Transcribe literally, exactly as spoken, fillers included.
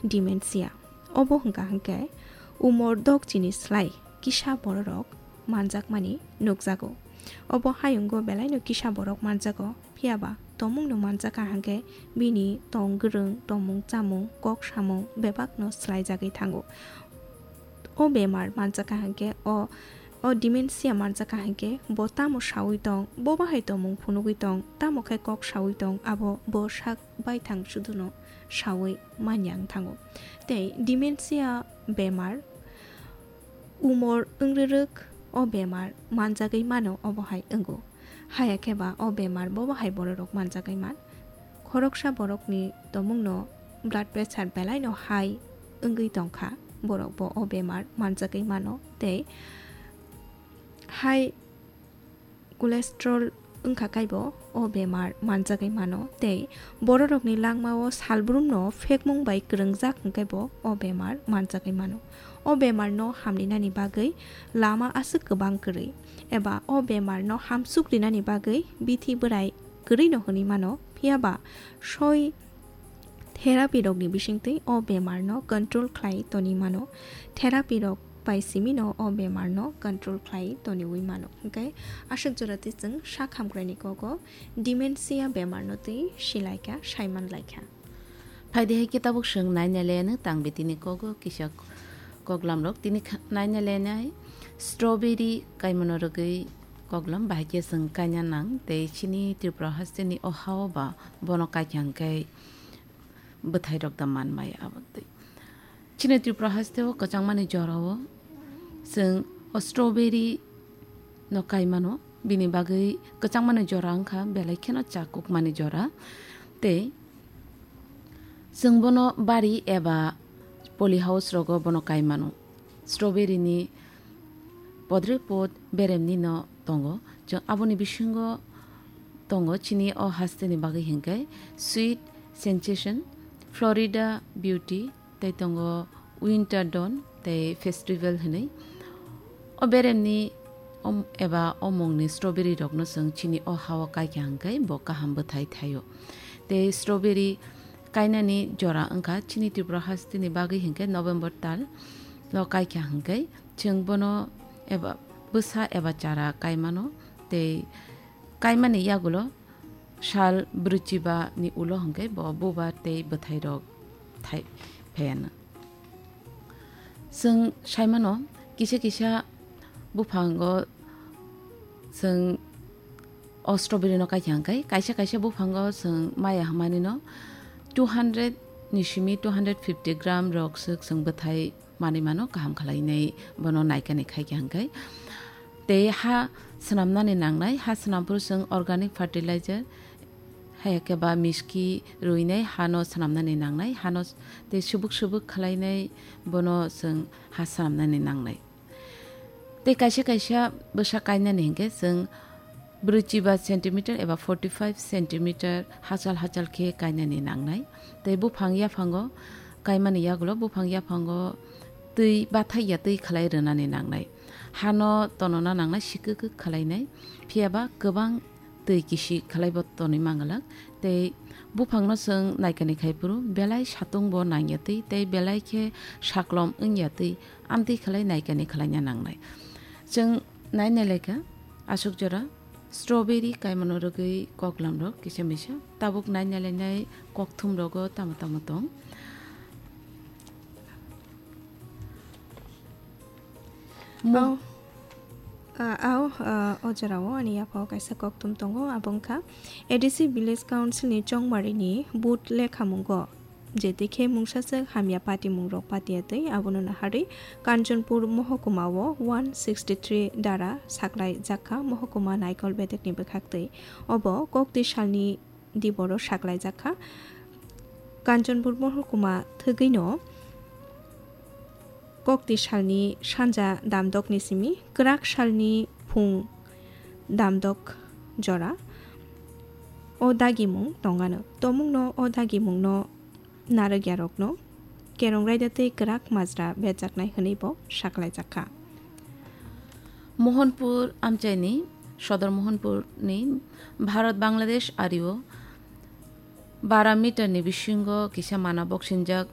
dementia. Obo hwnkha hwnkhe umor dok chini slai kisa bororok manjakmani nukjago. Obo hayungo belaino kisa borok manjago, phiyaba tomungno manjakha hwnkhe bini tong gwrwng, tongmung chamung, kok samung bebakno swlaijagwi thango. O bemar manjakha hwnkhe o, o dementia manjakha hwnkhe bo tamo saui tong, bo bahai tongmung phunugwi tong, tamo khe kok saui tong, abo bo sak baithang suduno saui manya wng thango. Tei dementia bemar umor wngrwrwk o bemar manjagwi mano obo hai wngo. Haya khe ba o bemar bo bahai bororok manjagwi man. Khoroksa borokni tomungno blood pressure belaino high wngwi tongkha, borok bo o bemar manjagwi mano tei high cholesterol wngkha kaibo o bemar manjagwi mano tei bororokni langmao salbrumno phekmung bai kwrwngjak hwnkhe bo o bemar manjagwi mano. O bemarno hamrinani bagwi lama aswk kwbang kwrwi, eba o bemarno hamsuk rinani bagwi bithi bwrai kwrwino hwnwi mano, phiyaba soi therapy rokni bisingtwi o bemarno control khlai toni mano. Therapy rok bai simino o bemarno control khlai toniwi mano. Hwnkhe aswk jora twi chwng sak hamkraini kogo dementia bemarno twi silaikha, saimanlaikha. Phaidi hai khe tabuk chwng naina laianw tang bitini kogo kisa koklam rok. Tini kha-, naina lainai strawberry kaimano rwgwi koklam bahai khe chwng kaina nang tei chini Tripura hasteni o hao ba bono kaikha hwnkhe bwthai rok da man maya abo twi. Chini Tripura hasteo kwchangmani jorao chwng o strawberry no kai mano, bini bagwi kwchangmani jora wngkha belai kheno chakukmani jora. Tei chwng bono bari eba poly house rogo bono kai mano. Strawberry ni podre pod beremni no tongo. Chwng aboni bisingo tongo chini o hasteni bagwi hinkhe Sweet Sensation, Florida Beauty, tei tongo Winter Dawn tei Festival hinwi. O beremni om-, eba o mungni strawberry rokno chwng chini o hao kaikha hinkhe bo kaham bwthai thaio. Tei strawberry kainani jora wngkha chini Tripura hasteni bagwi hinkhe November tal o kaikha hinkhe chwng bono eba bwsa eba chara kaimano tei kaimani yagulo sal brwichiba ni ulo hwnkhe bo bubar tei bwthai rok thai phaiano. Chwng saimano kisa kisa buphango chwng o strawberry no kaikha hwnkhe kaisa kaisa buphango chwng maya hwnmani no two hundred ni simi two hundred fifty gram rok swk chwng bwthai manwi mano kaham khlainai bono naikani khaikha hwnkhe. Tei ha swnamnani nangnai, ha swnamphuru chwng organic fertilizer, haya khe ba miski ruinai hano swnamnani nangnai, hano s-, tei subuk subuk khlainai bono chwng ha swnamnani nangnai. Tei kaisa kaisa bwsa kainani hinkhe chwng brwichiba centimeter eba forty five centimeter hachal hachal khe kainani nangnai. Tei buphang yaphango kaimani yagulo buphang yaphango twi bathai ya twi khlai rwnani nangnai. Hano tonona nangnai, sikwk kwk khlainai, phiyaba kwbang twi kisi khlaibo tonwi manglak. Tei buphangno chwng naikani khai phuru belai satung bo nangya twi tei belai khe saklom wngya twi amtwi khlai naikani khlaina nangnai. Chwng naina lekha aswk jora strawberry kaimano rwgwi koklam rok kisa misa tabuk naina lainai kokthum rogo tamo tamo tong. Mo- Au. Ah, au, ah, o jorao ani yaphao kaisa kokthum tongo, abo wngkha A D C Village Council ni chongmarini vote lekhamungo je twi khe mungsaswk hamya patimungrok patiya twi abono naharwi Kanchanpur mohokuma o one sixty three dara saklai jakha mohokuma naikol bedekni bwkhak twi. Obo kokti salni diboro saklaijakha. Kanchanpur mohokuma thwgwino kokti salni sanja damdokni simi kwrak salni phung damdok jora o dagimung tongano. Tomungno o dagimungno narwkyarokno kerong raida tei kwrak majra berjaknai hwnwi bo saklaijakha. Mohanpur amchaini Sodor Mohanpurni Bharat Bangladesh ario bara meter ni bisingo kisa mana boksinjak